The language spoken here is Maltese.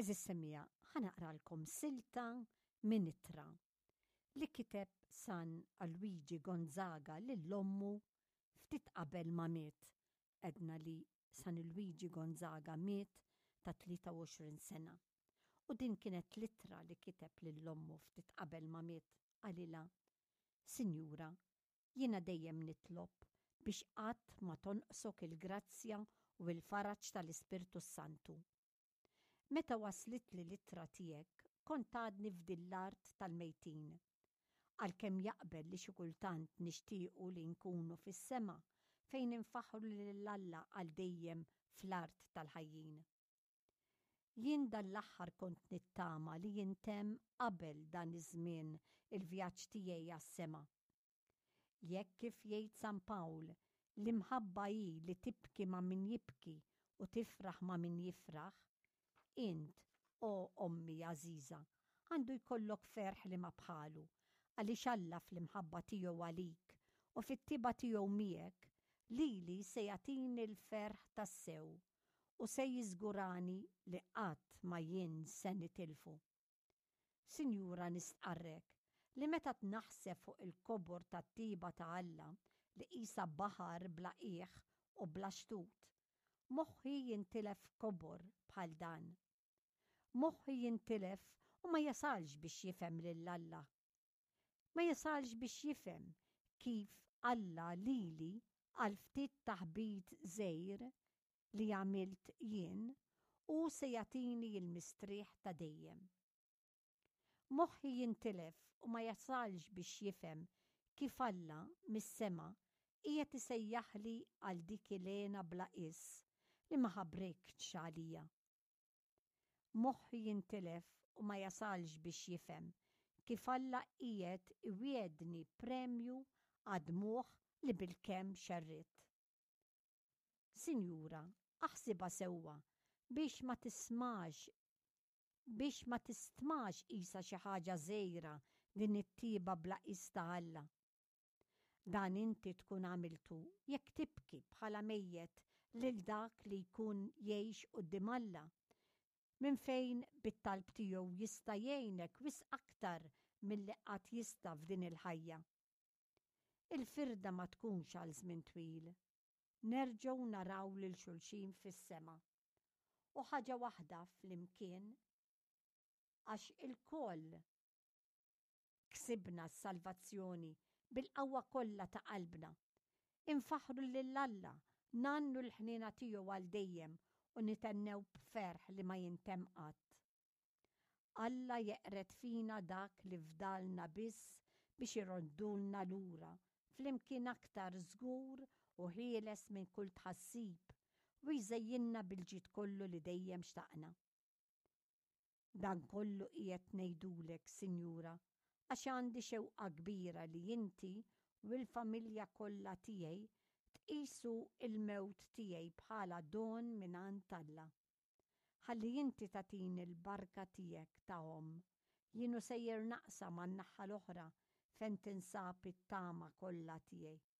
Għeżież semmiegħa, ħa naqralkom silta minn ittra li kiteb San Alwiġi Gonzaga lil ommu ftit qabel ma miet. Għedna li San Lwiġi Gonzaga miet ta' 23 sena. U din kienet l-ittra li kiteb lil ommu ftit qabel ma miet. Qalilha, Sinjura, jiena dejjem nitlob biex qatt ma tonqsok il-grazzja u l-faraġ tal-Ispirtu s-Santu. Meta waslitli l-ittra tiegħek kont għadni f'din l-art tal-mejtin. Għalkemm jaqbel li xi kultant nixtiequ li nkunu fis-sema fejn infaħħru lil Alla għal dejjem fl-art tal-ħajjin. Jien dan l-aħħar kont nittama li jintemm qabel dan iż-żmien il-vjaġġ tiegħi għas-sema. Jekk kif jgħid San Pawl, l-imħabba hi li tibki ma' min jibki u tifraħ ma' min jifraħ, int, o ommi għażiża, għandu jkollok ferħ li ma bħalu, għaliex Alla fl-imħabba tiegħu għalik u fit-tjieba tiegħu miegħek, lili se jagħtini l-ferħ tassew u se jiżgurani li qatt ma jien se nitilfu. Sinjura nistqarrek li meta naħseb fuq il-kobor tat-tjieba ta' Alla li qisha baħar bla qiegħ u bla xtut, moħħi jintilef f'kobor bħal dan. Moħħi jintilef u ma jasalx biex jifhem lil Alla. Ma jasalx biex jifhem kif Alla lili għal ftit taħbit żgħir li għamilt jien, hu se jagħtini l-mistrieħ ta' dejjem. Moħħi jintilef u ma jasalx biex jifhem kif Alla, mis-sema, qiegħed isejjaħli għal dik il-hena bla qies li ma ħabriktx għalija. Moħħi jintilef u ma jasalx biex jifhem kif Alla qiegħed iwiegħdni premju għad-dmugħ li bilkemm xerridt. Sinjura, aħsibha sewwa biex ma tismax biex ma tistmax qisha xi ħaġa żgħira din it-tjieba bla qies ta' Alla. Dan inti tkun għamiltu jekk tibki bħala mejjet lil dak li jkun jgħix quddiem Alla, minn fejn bit-talb tiegħu jista' jgħinek wisq aktar milli qatt jista' f'din il-ħajja. Il-firda ma tkunx għal żmien twil. Nerġgħu naraw lil xulxin fis-sema. U ħaġa waħda flimkien għax ilkoll ksibna s-salvazzjoni bil-qawwa kollha ta' qalbna. Infaħħru lil Alla, ngħannu l-ħniena tiegħu għal dejjem u nithennew b'ferħ li ma jintemm qatt. Alla jeqred fina dak li fdalna biss biex iroddulna lura flimkien aktar żgur u ħieles minn kull tħassib u jżejjinna bil-ġid kollu li dejjem xtaqna. Dan kollu qiegħed ngħidulek, Sinjura, għax għandi xewqa kbira li inti u l-familja kollha tiegħi tqisu l-mewt tiegħi bħala don mingħand Alla. Ħalli inti tagħtini l-barka tiegħek ta' omm. Jien u sejjer naqsam għan-naħa l-oħra fejn tinsab it-tama kollha tiegħi.